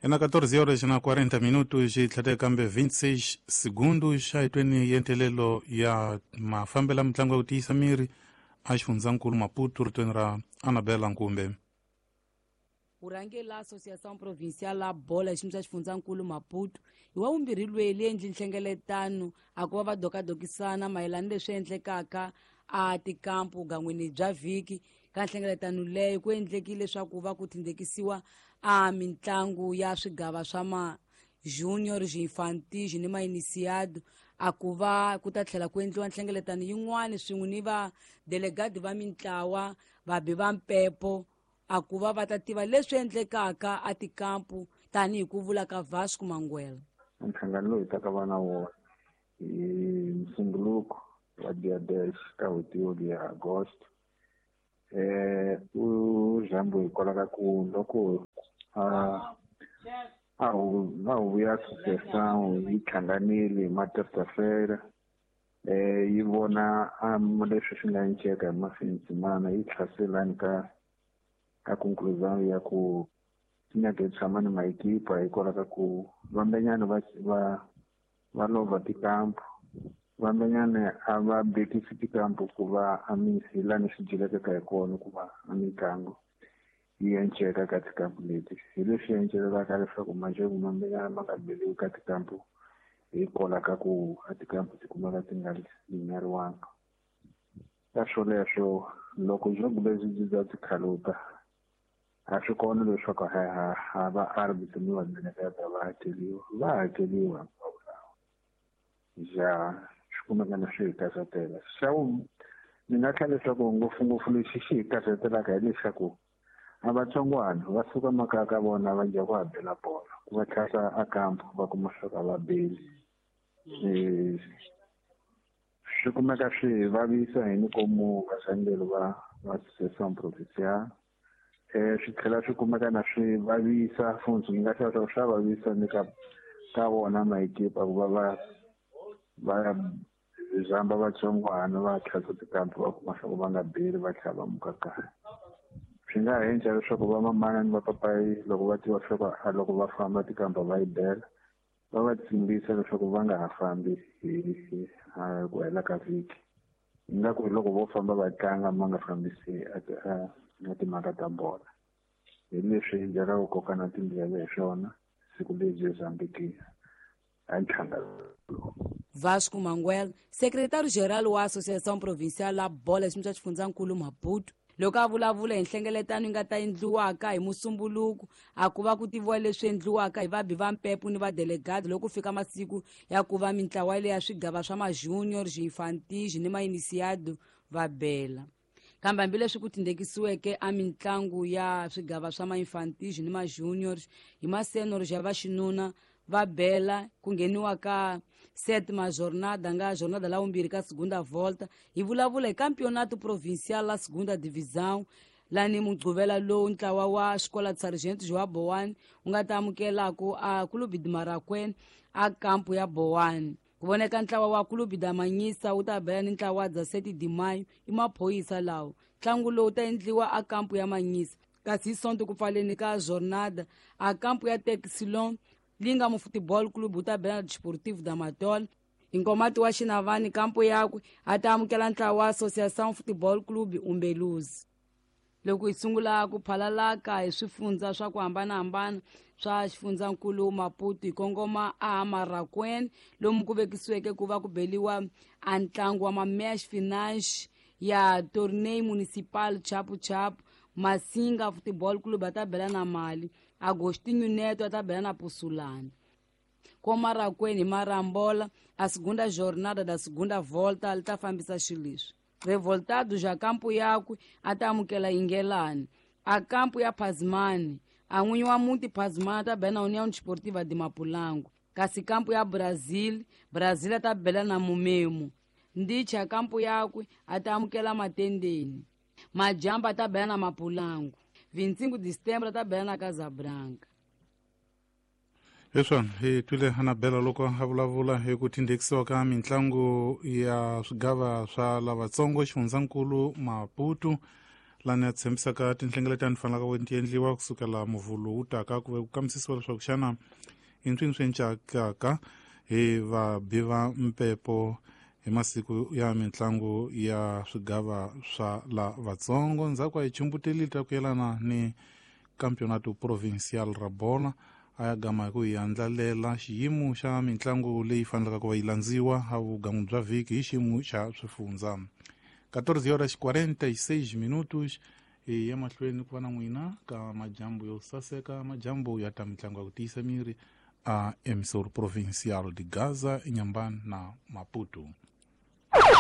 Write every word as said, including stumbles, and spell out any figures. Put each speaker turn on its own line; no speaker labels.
Ena catorze horas na quarenta minutos e tlhete kambe vinte e seis segundos a hitweni yentelelo ya mafambela mitlangu ya ku tiyisa miri a xifundzankulu Maputo ritweni ra Anabela Nkumbe.
Vurhangeri la Associação Provincial la Bola xiyimo xa xifundzankulu Maputo hi wa vumbirhi lweyi endli nhlengeletano a ku va va dokadokisana mayelana leswi endlekaka a tikampu gan'wini bya vhiki. Ka nhlengeletano leyo ku endlekile leswaku va ku tindekisiwa a mitlangu ya swigava swa ma junior, infantil ni ma iniciado a ku va ku ta tlhela ku endliwa nhlengeletano yin'wana swin'we ni va delegati va mintlawa vabi va mpepo a ku va va ta tiva leswi endlekaka a tikampu tanihi ku vula ka Vasco Manguela.
Nhlangano lowu hi taka va na wona hi Musumbuluko wa dia dez ka n'hweti ya Agosto eh u zambo hikwalaho ka ku loko a a huvo ya associação yi hlanganile hi ma-terça-feira eh yi vona leswi swi nga enceka hi mafini yi tlhaselani ka ka conclusão ya ku nyaka hi tshama ni maekipa hikwalaho ka ku vambenyana va va va lova tikampu vambenyana a va bekisi tikampu ku va a misi lani swi dyelekaka hi kona ku va a mitlangu yi enceka ka tikampu leti hi leswi encelelaka leswaku majeko mambenyana ma nga beliwi ka tikampu hikwalaho ka ku a tikampu ti kumeka ti nga linyariwanga. Ka swoleswo loko jogo lebyi byi bya tikhaluta a swi kona leswaku ha va arbitro ni vadelegata va hakeliwa va hakeliwa hinkwavo lawa ja swi kumeka na swi hi karhatela. Xa ni nga tlhela leswaku ngopfungopfu lexi xi hi karhatelaka hileswaku a vatsongwana va suka makaya ka vona va dya ku ha bela bolo ku va tlhasa a kampu va kuma leswaku a va beli swi kumeka swi hi vavisa hi nikomu varhangeri va va Associação Provincial eh swi tlhela swi kumeka na swi vavisa futhi ni nga tlhela leswaku swa vavisa ni ka ka vona maekipa ku va va va zamba vatsongwana va tlhasa tikampu va kuma leswaku va nga beli va tlhela va muka kaya. Swi nga ha endla leswaku va mamana ni vapapayi loko va tiva leswaku a loko va famba tikampa va yi bela va va tsimbisa leswaku va nga ha fambi hi ku hela ka vhiki ingaku hi loko vo famba va tlanga ma nga fambisi na timhaka ta bola hi leswi hi byelaka ku koka na tindleve hi swona siku lebyi Zambiki a nhlangano.
Vasco Manguel, secretário-geral wa Associação Provincial la Bola xiyimo xa xifundzankulu Maputo loko a vulavula hi nhlengeletano yi nga ta endliwaka hi Musumbuluko a ku va ku tiviwa leswi endliwaka hi vabi va mpepo ni vadelegati loko ku fika masiku ya ku va mintlawa leya swigava swa ma-junior, infantil ni ma-iniciado va bela. Kambe hambileswi ku tindekisiweke a mitlangu ya swigava swa ma-infantil ni ma-junior hi ma-senior ya vaxinuna va bela ku ngheniwa ka sétima jornada nga jornada la vumbirhi ka segunda volta hi vulavula hi campeonato provincial la segunda divisão lani Mugqivela lowu ntlawa wa Escola de Sargento João Boane wu nga ta amukelaku a Clube de Marakwena a kampu ya Boane. Ku voneka ntlawa wa Clube da Manyisa wu ta bela ni ntlawa wa dezessete de Maio i maphorisa lawo. Ntlangu lowu ta endliwa a kampu ya Manyisa kasi hi Sonto ku pfaleni ka jornada a kampu ya Texilon Linga mu Futebol Clube wu ta bela na Desportivo da Matola. Hi Nkomati wa Xinavani kampu yakwe a ta amukela ntlawa wa Associação Futebol Clube Umbeluzi. Loko hi sungula ku phalalaka hi swifundza swa ku hambanahambana swa xifundzankulu Maputo hi kongoma a Marakwena lomu ku vekisiweke ku va ku beliwa a ntlangu wa ma-match finance ya Torneio Municipal Chapu Chapu. Masinga Futebol Clube a ta bela na Mali, Agostinho Neto a ta bela na Pussulani. Ko Marakwena hi Marambola a segunda jornada da segunda volta li ta fambisa xileswi. Revoltado ja kampu yakwe a ta amukela Ingelani a kampu ya Pazmani a n'winyi wa muti Pazmani a ta bela na União Desportiva de Mapulango. Kasi kampu ya Brazil Brazil a ta bela na Mumemo. Ndicha kampu yakwe a ta amukela Matendeni. Majamba a ta bela na Mapulango. vinte e cinco de setembro a ta bela na Casabranca.
Leswi hi twile Anabela loko a vulavula hi ku tindekisiwa ka mitlangu ya swigava swa lavatsongo xifundzankulu Maputo Lani ya tshembisaka tinhlengeletano fanelaka ku ti endliwa kusukela muvhulu wu taka ku ve ku kambisisiwa leswaku xana i ntswini swi encakaka hi vabi va mpepo hi masiku ya mitlangu ya swigava swa la vatsongo. Ndzhaku a hi chumbutelile ta ku yelana ni campeonato provincial ra bola, a ya gama hi ku hi andlalela xiyimo xa mitlangu leyi fanelaka ku va yi landziwa a vugangu bya vhiki hi xiyimo xa swifundza. catorze horas quarenta e seis minutos hi ya mahlweni ku va na n'wina ka majambu yo saseka, majambu ya ta mitlangu ya ku tiyisa miri a emissor provincial de Gaza, Inhambane na Maputo.